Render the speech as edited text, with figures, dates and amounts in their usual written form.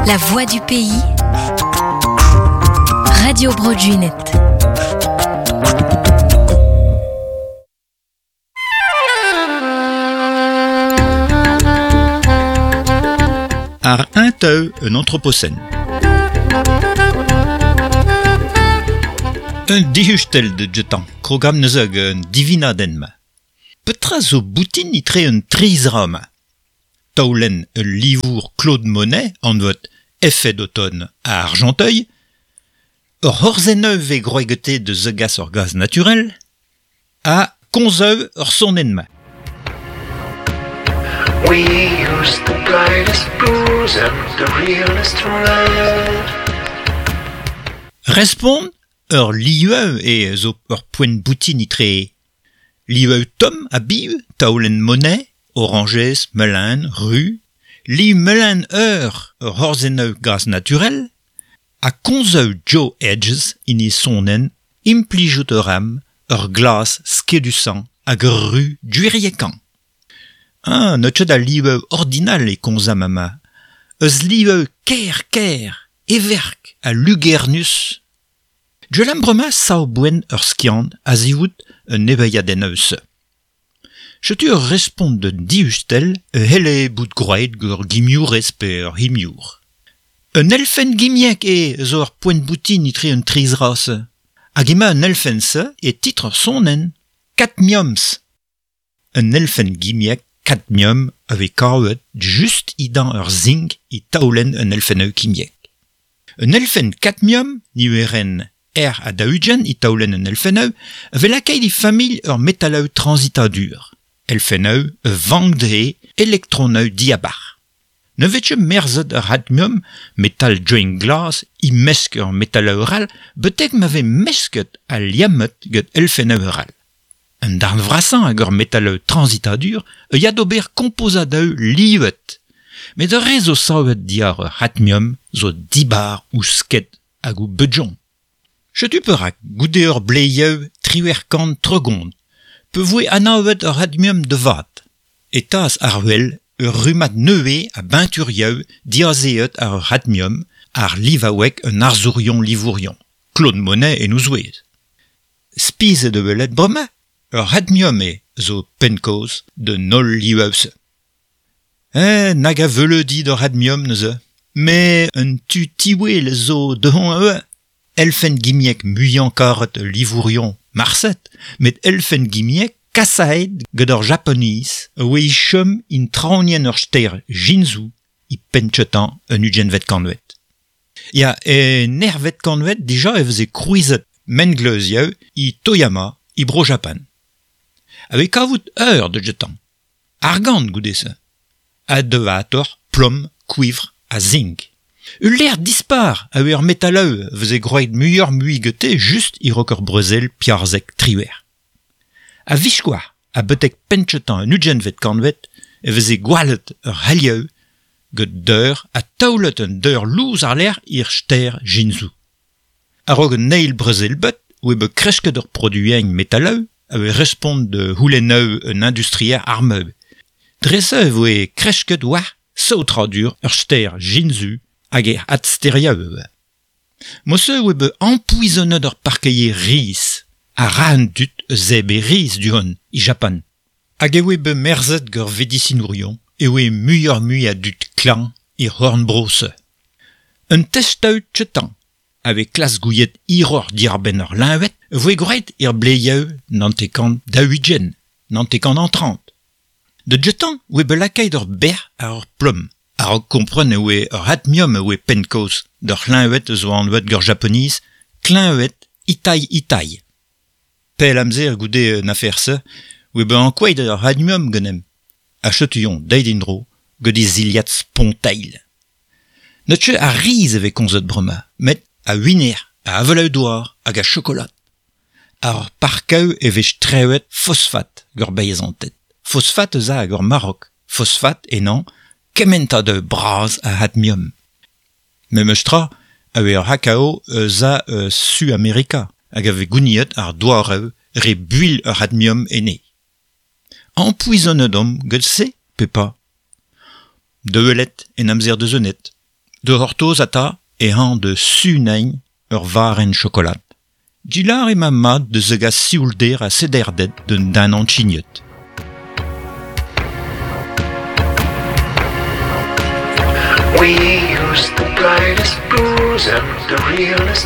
La voix du pays. Radio Bro Gwened. Ar un teu un anthropocène. Un dihustel de jetan, krogam neuze hag un divinadenn-ma. Petra zo boutin itre un trizra-ma? Taolenn ul livour Claude Monet anvet Effet d'automne à Argenteuil, ur c'horzenn vez groegete de zegas ur gaz naturel, ha komzeu ur sonenn-ma. We use the brightest blues and the realest red. Respont ur lieu e zo ur poent boutin itre. Lieu tomm a biv, taolenn Monet, oranjez, melen, ru, li melen ur ur c'horzenn gaz naturel, ha komzeu Joe Hedges in e sonenn implijout ur am ur glas skedusañ hag ur ru gwiriekañ. Ah, n'eus ket a lieu ordinal e komzam ama. Eus lieu ker-ker, everk ha lugernus. Gwell bremañ sav boen ur skiant a-zivout un evezhiadenn eus. Setu ur respont d'un diustel e c'helle bout gwraet gant ur gimiourez pe ur c'himiour. Un elfenn gimiek eo zo ur poent boutin etre un trizra-se. Hag emañ an elfenn-se e titr ur sonenn, Cadmiums. Un elfenn gimiek cadmium a vez kavet just idan ur zink e taolenn un elfenn kimiek. Un elfenn cadmium, niverenn R ha daou-ugent e taolenn un elfenn a vez lakaet e familh ur metaloù transitadur. Elfennoù a vank dezhe elektronoù diabarzh. Ne vez ket merzet ur cadmium, metal diouzh glas, e-mesk ur metaloù all, betek ma vez mesket ha liammet gant elfennoù all. Un darn vrasañ hag ur metaloù transitadur a ya d'ober kompozadoù livet. Met ar re zo savet diwar ur cadmium zo dibar ouzh sked hag o beudjon. Setu perak goude ur bleieù 38 pe voe anavet ur cadmium da vat. E tas ar wel ur rummad nevez a beñturioù diazeet ar ur cadmium ar livaoueg un arzourion livourion. Claude Monet en o zouez. Spizet e welet bremañ, ur cadmium eo zo penn-kaoz d'un holl livaoù-se. Nag a veuleudi d'ur cadmium neuze, met un tu tiwel zo dehon ivez. Elfenn gimiek muiañ karet ul livourion marset, met elfenn gimiek kasaet gant ur Japoniz a oa e chom in traoñienn ur stêr Jinzu e penn-kentañ an ugentvet kantved. Ya, en ervet kantved dija e veze krouizet mengleuzioù e Toyama e Bro-Japan. A vez kavout ur da gentañ. Argant goude-se. Ha devator, plom, kouivr ha zink. Ul lec'h dispar a oa ur metaloù a veze gwraet muioc'h-mui gante just e-raok ur brezel 14-18. A-viskoazh ha betek penn-kentañ an ugentvet kantved e veze gwallet ur c'helioù gant deur ha taolet un deur lous àr-lerc'h er stêr Jinzu. A-raok an eil brezel-bed oa bet kresket ur produiñ metaloù a oa respont da c'houlennoù un industrier armeù. Dre-se e voe kresket war saotradur ur stêr Jinzu hag e adstêrioù ivez. Mod-se oa bet ampoezonet ur parkeier riz ha ra an dud eus zebriñ riz du-hont e Japan. Hag e oa bet merzet gant vedisinourion e oa muioc'h-mui a dud klañv er c'horn-bro-se. Un testaoù kentañ a vez klask gouiet hiroc'h diwar-benn ur leñved e voe gwraet er bleieù 1940, 1930. Da gentañ oa bet lakaet ur bec'h àr ur plom. A-raok kompren e oa ur cadmium e oa penn-kaoz d'ur c'hleñved zo anvet gant Japoniz kleñved Itai-Itai. Pell amzer goude an afer-se oa bet ankouaet ur cadmium ganemp. Ha setu-eñ deuet en-dro gant e zilhad spontailh. N'eus ket a riz e vez komzet bremañ, met a winer, a avaloù-douar hag a chokolad. Ar parkaoù e vez strewet fosfat gant beizanted. Fosfat eus a hag ur Marok. Fosfat ennañ kementadoù bras a cadmium. Memes tra a oa ur c'hakao eus a Su-Amerika hag a vez gouniet ar douaroù re builh ur cadmium enne. Ampoezonet omp gant se pe pas? Da welet en amzer da zonet. De c'hortoz ata e hañ de sunein ur varenn chokolad. Dilar ema mat de zegas sioulder ha sederded d'un den anchignet. We use the brightest blues and the realest